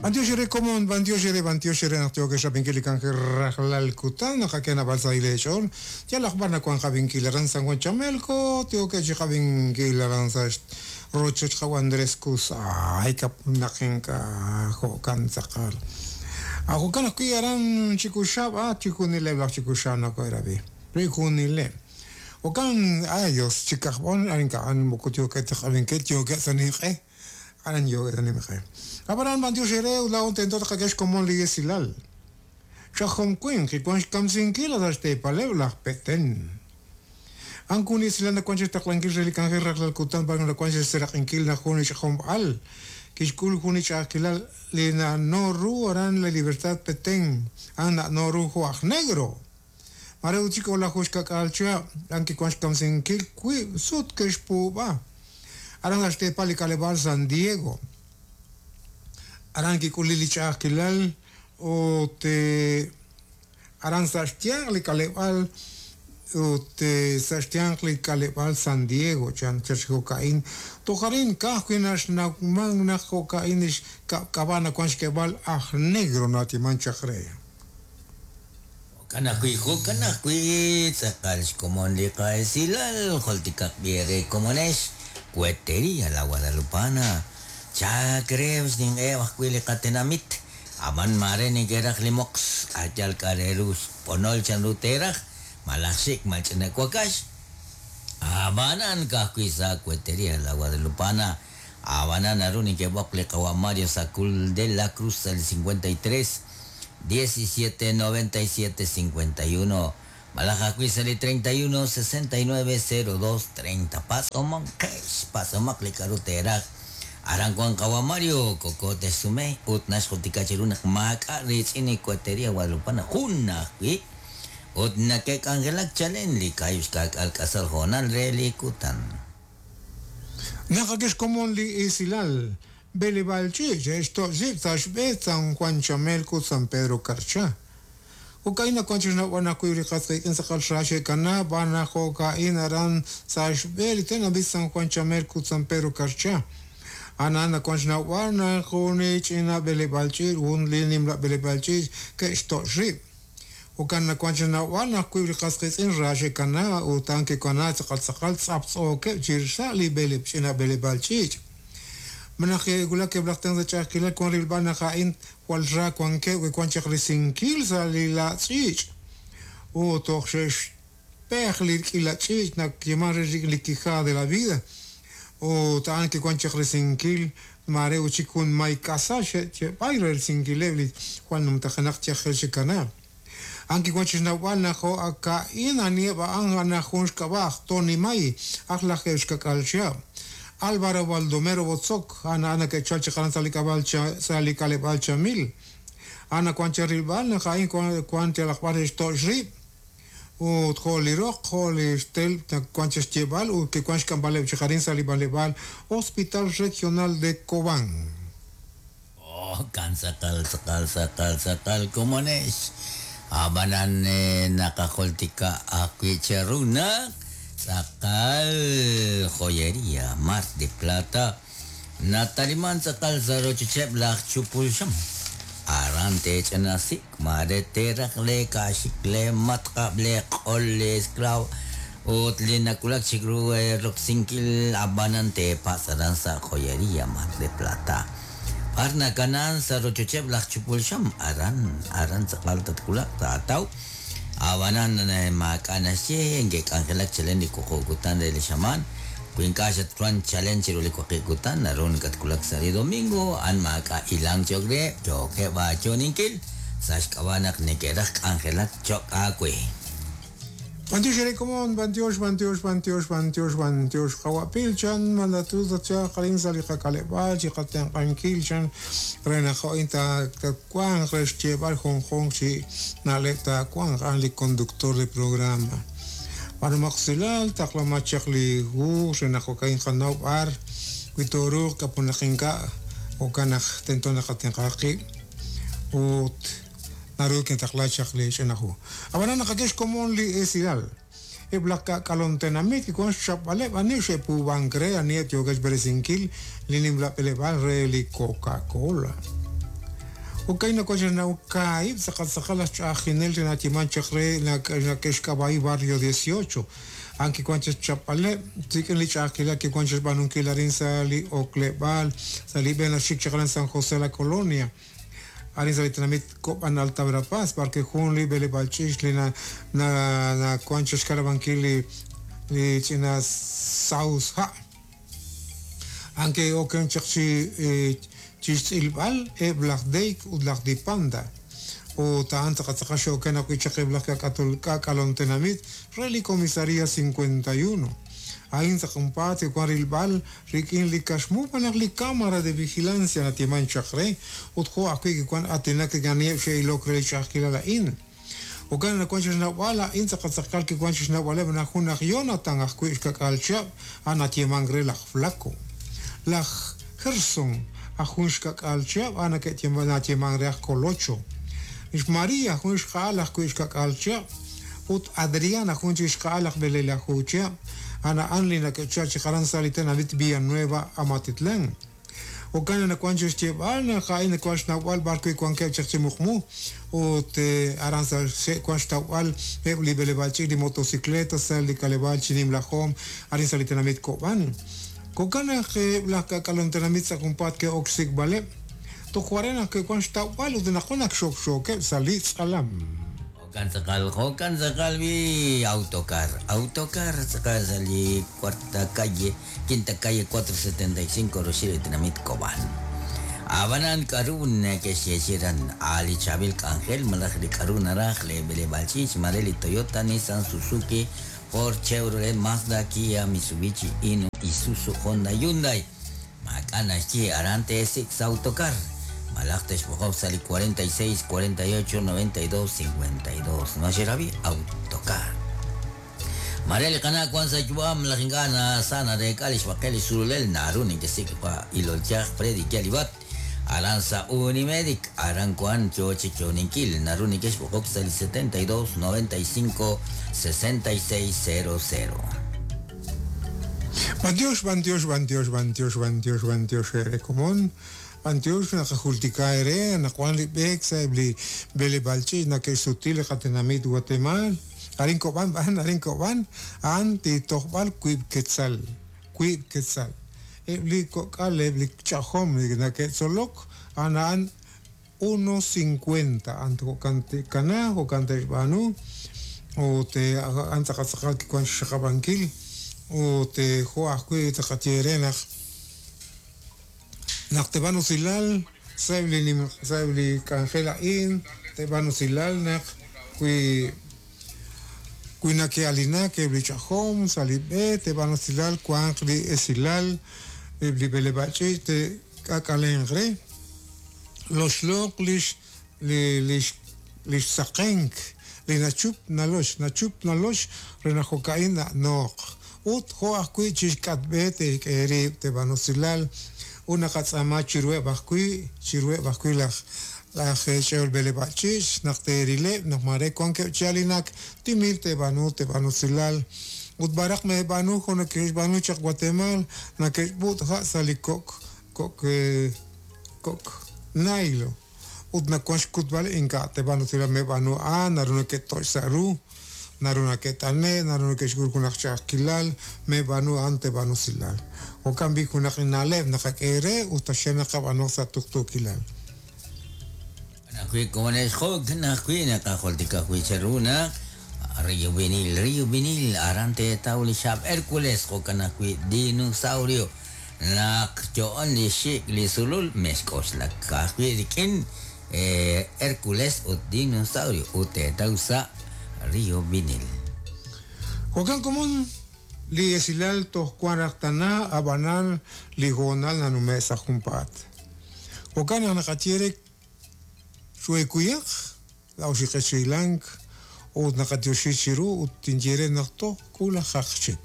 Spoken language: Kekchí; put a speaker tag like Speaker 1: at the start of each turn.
Speaker 1: B'antiox eere komon, b'antiox eere, b'antiox eere naq yookex rab'inkil li k'anjel rajlal kutan, naqak'e naab'al sahil eech'ool. Yalaq b'ar nawank qab'inkil aran San Juan Chamelco, yookeb' chi qab'inkil aran sa' rochoch qawa' Andrés Cuz. Ay, naq ink'a' jo'kan tz'aqal. Jo'kan ajwi' aran Chikuxab', a chijunileb' laj Chikuxab' nakohe'rab'i. Chijunileb'. Jo'kan, ay Dios, chi kajb'on, ink'a' moko yookeb' ta qab'inkil, yookeb' sa' ninq'e. Aran yookeb' sa' ninq'e. Ab'anan b'antiox eere ut laa'o tento tqak'e xkomon li esilal. Ch'ajom winq kiwank xkamsinkil sa' xteepaleb' laj Petén. A'an jun li esilal nawank chi xtaqlankil re li k'anjel rajlal kutan b'ar nawank chi xseraq'inkil naq jun li ch'ajom al kixk'ul jun li ch'a'ajkilal li na'no ru aran La Libertad Petén, a'an na'no ru jo' aj negro. Mare ut chik o'laju xka'k'aal chihab', a'an kiwank xkamsinkil wiib' sut ke'xpuub'a aran sa' xteepal li k'aleb'aal San Diego. Aran kik'ulil li ch'a'ajkilal ut aran sa' xyanq li k'aleb'aal ut sa' xyanq li k'aleb'aal San Diego chan chaq chi jo'ka'in. Toj arin ka'ajwi' naxnawmank naq jo'ka'in li xk'ab'a' nawank xk'eeb'al aj negro na'atiman chaq re.
Speaker 2: Jo'kan ajwi', jo'kan ajwi', tz'aqal xkomon li qa'esilal, jultikaq b'i eere komonex, Cuetería La Guadalupana, chaak reheb' xninq'eheb' ajwi' li qatenamit, ab'an maare neke'raj li moqs, a' yal k'a' re ru xb'onol chanru teeraj, malaj xik' mal ch'ina wakax, ab'anan ka'ajwi' sa' Cuetería La Guadalupana, ab'anan naru neke'b'oq li qawa' Mario Sacul de la Cruz sa' li 53 17 97 51 malaj ajwi' sa' li 31 69 02 30. Patz'omanqex, patz'omaq li k'a'ru teeraj. Aran wan qawa' Mario, koko texsume ut naxjultika cheru naq maak'a' riitz'in li Cuetería Guadalupana jun ajwi' ut nake'k'anjelak chalen li kaahib' xka'k'aal k'asal hoonal re li kutan.
Speaker 1: Naqak'e xkomon li esilal B'eleb'aal ch'iich' xe'xtoch' rib' sa' xb'e San Juan Chamelco ut San Pedro Carchá. Jo'ka'in nawank chi xnawb'al naq wiib' li qas qiitz'in tz'aqal ra xe'kana b'aan naq jo'ka'in aran sa' xb'e li tenamit San Juan Chamelco ut San Pedro Carchá. A'an nawank xnawb'al naq jun li ch'ina b'eleb'aal ch'iich' jun li nimla b'eleb'aal ch'iich' ke'xtoch' rib'. Jo'kan nawank chi xnawb'al naq wiib' li qas qiitz'in ra xe'kana ut a'an ke'kana tz'aqal tz'aqal tz'aptz'ookeb' chi sa' li b'eleb' ch'ina b'eleb'aal ch'iich'. Ma naq ke'wulak eb' laj tenq' sa' ch'a'ajkilal wank rilb'al naq a'in jwal ra wankeb' wi wank chaq risinkil sa' li la' ch'iich' ut toj xe'xpej li k'iila ch'iich' nayeeman re rik'in li quijada de la vida ut a'an ke'wank chaq risinkil maare ut chik jun may k'asal xe'b'ay re risinkileb' li jwal numtajenaq yajel xe'kana. A'an kiwank chi xnawb'al naq jo' ak a'in aniheb' a'an a'an jun xk'ab'a' aj Tony May, aj lajeeb' xka'k'aal chihab'. Álvaro Baldomero Botzok, a'an a'an nake'chal chaq aran sa' li k'ab'aal sa' li k'aleb'aal Chamil. A'an nawank chi rilb'al naq a'in wank yalaq b'ar re xtoch' rib' ut jo' li roq jo' li xtelb' nawank chi xyeeb'al ut kiwank xk'amb'aleb' chaq arin sa' li b'anleb'aal Hospital Regional de Cobán.
Speaker 2: Oh, kan tz'aqal, tz'aqal, tz'aqal, tz'aqal komonex. Ab'anan naqajultika ajwi' cheru naq tz'aqal Joyería Mar de Plata nataliman tz'aqal sa' rochocheb' laj chupul xam. Aran teech'inasik, maare teeraj lee kaaxik, lee matq'ab', lee q'ol, lee esklaw ut li nawulak chik ru roksinkil, ab'anan teepatz' aran sa' Joyería Mar de Plata. B'ar nakana sa' rochocheb' laj chupul xam, aran, aran tz'aqal tatwulaq, taataw. Ab'anan maak'a' naxye, nke'k'anjelak chalen li wuqub' kutan re li xamaan. Wi ink'a' xatwank chalen chiru li waqib' kutan, naru nakatwulak sa' li domingo, a'an maak'a' hilank cho'q reheb', yookeb' aayo'ninkil sa' xk'ab'a' naq neke'raj k'anjelak cho'q aawe.
Speaker 1: B'antiox eere komon, b'antiox, b'antiox, b'antiox, b'antiox, b'antiox qawa' Pil chan malatu tatchalq arin sa' li qak'aleb'aal chi qatenq'ankil chan re naq jo'in tatwanq re xyeeb'al junjunq chi na'leb' taawanq a'an li conductor de programa. B'aanumaq usilal, taqlamaq chaq li hu re naq jo'ka'in qanaw b'ar wi tooruuq k'apunaq ink'a' jo'kan naq tento naqatenq'a qib' ut Naru kintaqla chaq li ch'ina hu. Ab'anan naqak'e xkomon li esilal. Eb' laj ka'k'alon tenamit kiwank xchapb'aleb' ani xe'puub'ank re aniheb' yookeb' xb'eresinkil li nimla b'eleb'aal re li Coca-Cola. Jo'kan naq wan kaahib' tz'aqal tz'aqal laj ch'a'ajinel re nayeeman chaq re nake'xk'ab'a'i Barrio 18. A'an kiwan chi xchapb'aleb' rik'in li ch'a'ajkilal kiwan chi xb'aanunkil arin sa' li ok'leb'aal sa' li b'e naxik chaq aran San José La Colonia. Arin sa' li tenamit Kob'an Alta Verapaz, b'ar wi' jun li b'eleb'aal ch'iich' li nawan chi xkanab'ankil li ch'ina saus ha'. A'an ke'oken chaq chi xtz'ilb'al eb' laj Deik ut laj Dipanda. Ut a'an tz'aqal tz'aqal xe'oken ajwi' chaq eb' laj k'ak'alom tenamit re li Comisaría 51. A'in sa' junpaat ke'wan rilb'al rik'in li kaxmu malaj li cámara de vigilancia natieman chaq re, ut jo' ajwi' kiwan aatinak rik'in aniheb' xe'ilok re li ch'a'ajkilal a'in. Jo'kan naq wan chixnawb'al a'in tz'aqal tz'aqal kiwan chixnawb'aleb' naq jun aj Jonathan ajwi' xkak'al chihab' a'an natyeemank re laj Flaco. Laj Gerson aj jun xkak'al chihab' a'an natyeemank re aj Colocho. Li xMaria jun xqa'al ajwi' xkak'al chihab' ut Adriana jun chik xqa'al aj b'eleelaju chihab' a'an a'an li nake'chal chaq aran sa' li tenamit Villanueva Amatitlán. Jo'kan naq wan chi xyeeb'al naq a'in nawank xnawb'al b'ar wi' wankeb' chaq chi muqmu ut aran sa' xe'wank xtawb'al eb' li b'eleb'aal ch'iich' li motocicleta sa' li k'aleb'aal chi nimla joom arin sa' li tenamit Kob'an. Jo'kan naq eb' laj k'ak'alom tenamit sa' junpaat ke'ok xsik'b'aleb'. Toj ware naq ke'wank xtawb'al ut anaqwan ak xokxookeb' sa' li tz'alam.
Speaker 2: Jo'kan tz'aqal, jo'kan tz'aqal bi autocar, autocar tz'aqal sa' li cuarta calle, quinta calle 475 roxil li tenamit Kob'an. Ab'anan k'aru neke'xyeechi'i aran a' li chaab'il k'anjel malaj li k'aru naraj li b'eleb'aal ch'iich' mare li Toyota, Nissan, Suzuki, Ford, Chevrolet, Mazda, Kia, Mitsubishi, Hino, Isuzu, Honda, Hyundai. Maak'a' naxye aran teesik' sa' autocar malaj texb'oqoq sa' li 46 48 92 52. Ma xerab'i? Autocar. Mare li qana' wank sa' yu'am malaj ink'a' sa nareek'a li xb'aqel li sululel naru nekesik' pa ilol yaj Freddy Yalibat aran sa' Unimedic aran wank yo chi yo'oninkil naru nekexb'oqok sa' li 72 95 66 00.
Speaker 1: B'antiox, b'antiox, b'antiox, b'antiox, b'antiox, b'antiox eere komon. B'antiox naqajultika eere anaqwan li b'eek sa'eb' li b'eleb'aal ch'iich' nake'xsuti li qatenamit Watemaal. Arin Kob'an b'an, arin Kob'an, a'an li tojb'al wiib' quetzal, wiib' quetzal. Eb' li kok'al, eb' li ch'ajom li nake'tzolok, a'an a'an 1.50, a'an jo'kan te'kanaaq, jo'kan te'xb'aanu ut a'an tz'aqal tz'aqal kiwan xxaqab'ankil ut jo' ajwi' taqaye eere naq naq te'b'aan usilal sa'eb' li sa'eb' li k'anjel a'in te'b'aan usilal naq wi wi nake'alinak eb' li ch'ajom sa' li b'e te'b'aan usilal wanq li esilal eb' li b'eleb'aal ch'iich' te'k'ak'alenq re loxloq lix li lix lix saqenk li nachup nalox nachup nalox re naq jo'ka'in na'nooq ut jo' ajwi' chixk'atb'e te'xk'e rib' te'b'aan usilal ut naqatz'aama chiruheb' ajwi' chiruheb' ajwi' laj laj ch'e'ol b'eleb'aal ch'iich' naq teerileb' naq mare wankeb' chi alinak timil te'b'aanu te'b'aan usilal ut b'araq meeb'aanu jo' nake'xb'aanu chaq Guatemala nake'xb'ut' ha' sa' li kok' kok' kok' naylo ut nawank xkutb'al ink'a' te'b'aan usilal meeb'aanu a'an naru nake'toch' sa' ru naru nake't'ane' naru nake'xk'ul junaq ch'a'ajkilal meeb'aanu a'an te'b'aan usilal jo'kan b'i' junaq na'leb' naqak'e eere ut taxaq naqab'aanu sa' tuqtuukilal.
Speaker 2: Ajwi' komonexjo' ajwi' naqajultika ajwi' cheru naq Rio Vinil, Rio Vinil aran teetaw li xaab' Hércules jo'kan ajwi' dinosaurio naq yo'on li xik' li sulul mexk'oxlak ajwi' rik'in Hércules ut dinosaurio ut teetaw sa' Rio Vinil.
Speaker 1: Jo'kan komon li esilal toj wan raj tana ab'anan li hoonal nanume' sa' junpaat. Jo'kan naq naqaye re xuekuyaq la'oxiqechilank ut naqatioxi chiru ut tinye re naq toj k'ulajaq chik.